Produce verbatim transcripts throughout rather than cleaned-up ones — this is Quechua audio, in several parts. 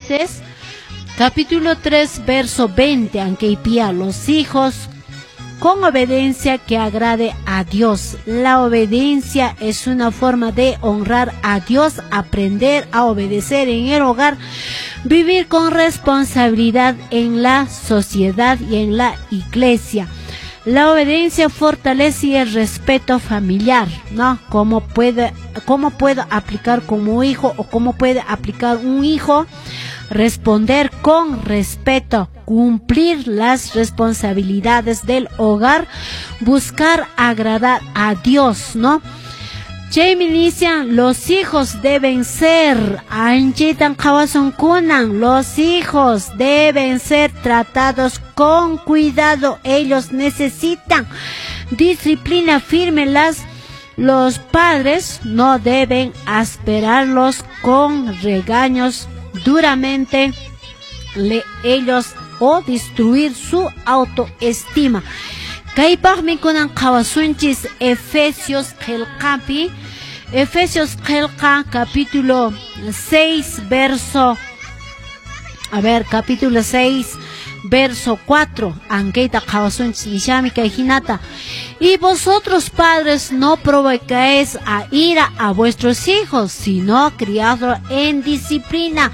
Colosenses capítulo tres, verso veinte, ankaypia los hijos con obediencia que agrade a Dios. La obediencia es una forma de honrar a Dios, aprender a obedecer en el hogar, vivir con responsabilidad en la sociedad y en la iglesia. La obediencia fortalece el respeto familiar, ¿no? ¿Cómo puede, cómo puedo aplicar como hijo o cómo puede aplicar un hijo? Responder con respeto, cumplir las responsabilidades del hogar, buscar agradar a Dios, ¿no? Chaymi nishan, los hijos deben ser, anchitan qhawasun kunan, los hijos deben ser tratados con cuidado, ellos necesitan disciplina firme, las los padres no deben asperarlos con regaños duramente le, ellos o destruir su autoestima. Kaypaqmi kunan qhawasunchis Efesios qillqapi, Efesios qillqa capítulo seis verso, a ver, capítulo seis verso cuatro, ankayta qhawasunchis nishami kay hinata. Y vosotros padres no provocáis a ira a vuestros hijos, sino criadlos en disciplina,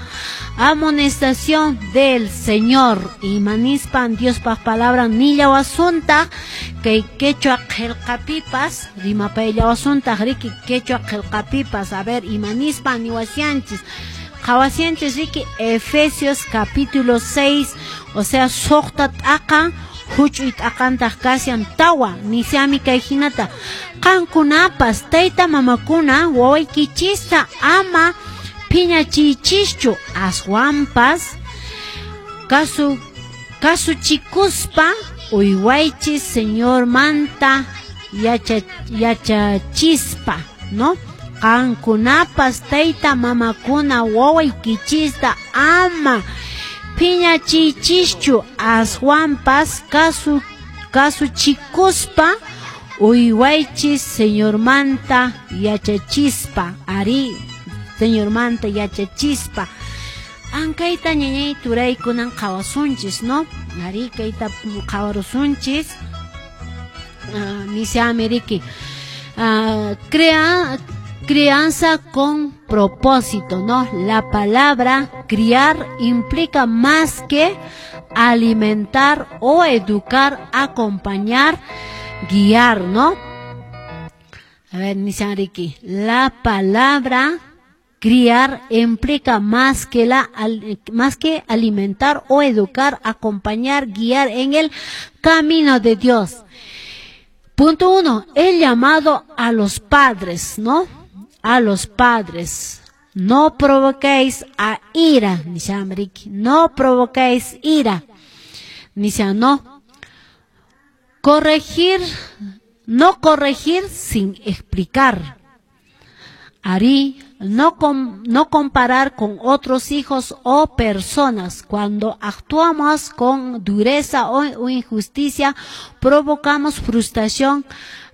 amonestación del Señor. Imanispan Diospaq palabra nillawasunta kay quechua qillqapipas, rimapayllawasunta riki quechua qillqapipas. A ver, imanispan niwasianchis qhawasianchis riki Efesios capítulo seis, o sea, suqta t'aqa huch'uy t'aqantaq kashan tawa nishami kay hinata. Qankunapas tayta mamakuna wawaykichista ama phiñachiychischu, aswanpas kasu kasuchikuspa uywaychis Señormanta yacha, yachachispa, ¿no? Qankunapas tayta mamakuna wawaykichista ama phiñachiychischu, aswanpas kasu kasuchikuspa uywaychis Señormanta yachachispa, ari Señormanta yachachispa. Ankayta ñañay turaykunan qhawasunchis, ¿no? Ari kayta qhawarusunchis. Uh, nishami riki. Uh, crea, crianza con propósito, ¿no? La palabra criar implica más que alimentar o educar, acompañar, guiar, ¿no? A ver, nishan riki. La palabra criar implica más que la más que alimentar o educar, acompañar, guiar en el camino de Dios. Punto uno, el llamado a los padres, ¿no? A los padres. No provoquéis a ira, nishan riki. No provoquéis ira. Nishan, no. Corregir, no corregir sin explicar. Ari, no, com, no comparar con otros hijos o personas. Cuando actuamos con dureza o, o injusticia, provocamos frustración,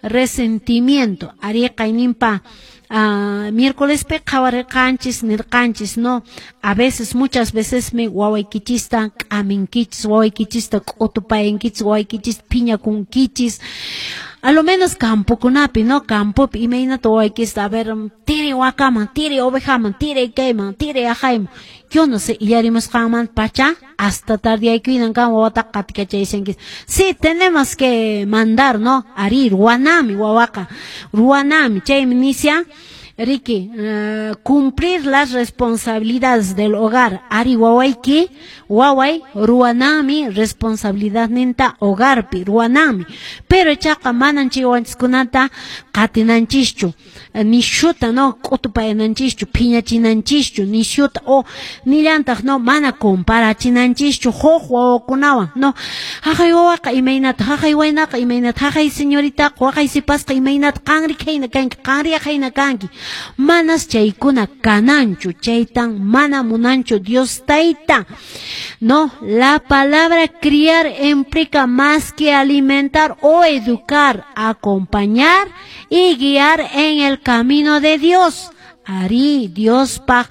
resentimiento. Ari qaynimpa uh, miércoles pe qhawarirqanchis nirqanchis, no, a veces, muchas veces me wawaykichista k'aminkichis, wawaykichista k'utupayankichis, wawaykichista phiñakunkichis. A lo menos campokunapi, ¿no? Campopi, imaynata wawaykista, a ver, tiri wakaman, tiri ovejaman, tiri kayman, tiri aqayman. Yo no sé, illarimusqanman pacha, hasta tardiaykuynan kan wawata qatikachayashankichis. Sí, tenemos que mandar, ¿no? Ari, ruwanami wawaqa, ruwanami, chaymi nisha, riki, uh, cumplir las responsabilidades del hogar. Ari wawayki, waway, ruwanami responsabilidad ninta hogarpi, ruwanami. Pero chaqa manan chay wawanchiskunata qatinanchischu, nishuta, no, k'utupayananchischu, phiñachinanchischu, nishuta, o nillantaq, no, mana comparachinanchischu huk wawakunawan, no. Haqay wawaqa imaynata, haqay waynaqa imaynata, haqay señoritaqa, waqay sipasqa imaynata, qanri khayna kanki, qanri khayna kanki. Manas chaykuna kananchu, chaytan mana munanchu Dios tayta. No, la palabra criar implica más que alimentar o educar, acompañar y guiar en el camino de Dios. Ari, Diospaq,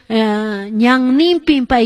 uh, ñanninpin.